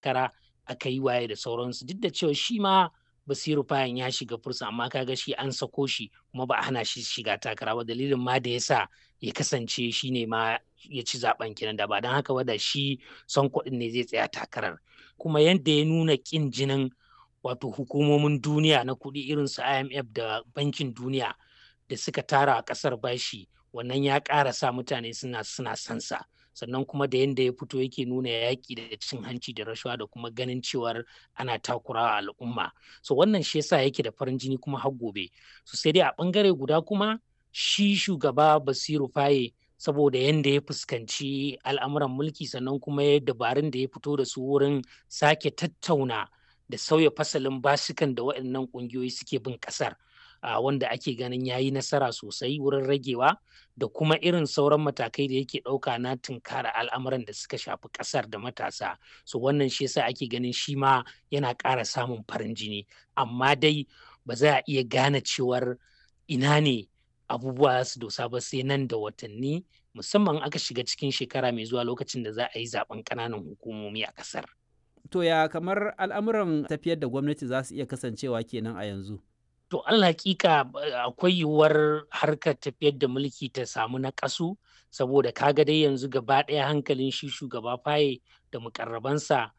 Takara aka yi waye da sauransu, duk da cewa shi ma Basiru Fayan ya shiga fursa, amma kaga shi an sako shi kuma ba a hana shi shiga takara ba. Dalilin ma da yasa ya kasance shi ne ma ya ci zaben kenan, da ba don haka ba da shi Sonko ɗin ne zai tsaya takarar. Kuma yadda ya nuna ƙin jinin wato hukumomin duniya na kuɗi irin su IMF da Bankin Duniya da suka tara a ƙasar bashi, wannan ya ƙara sa mutane suna sansa. Sannan kuma da yadda ya fito yake nuna yaƙi da cin hanci da rashawa da kuma ganin cewar ana takurawa al'umma, so wannan shi yasa yake da farin jini kuma har gobe. So sai dai a ɓangare guda kuma shi shugaba Basiru Faye, saboda yadda ya fuskanci al'amuran mulki, sannan kuma ya dabarun da ya fito da su wurin sake tattauna da sauya fasalin basukan da waɗannan ƙungiyoyi suke bin ƙasar, wanda ake ganin ya yi nasara sosai wurin ragewa, da kuma irin sauran matakai da yake ɗauka na tunkara al'amuran da suka shafi ƙasar da matasa, so wannan shi yasa ake ganin shi ma yana ƙara samun farin jini. Amma dai ba za a iya gane cewar ina ne abubuwa su dosa ba sai nan da watanni, musamman aka shiga cikin shekara mai zuwa, lokacin da za a yi zaben ƙananan hukumomi a ƙasar. To ya kamar al'amuran tafiyar da gwamnati za su iya kasancewa kenan a yanzu? To al hakika akwai yiwuwar harkar tafiyar da mulki ta samu naƙasu, saboda kaga dai yanzu gaba ɗaya hankalin shi shugaba Faye da mukarrabansa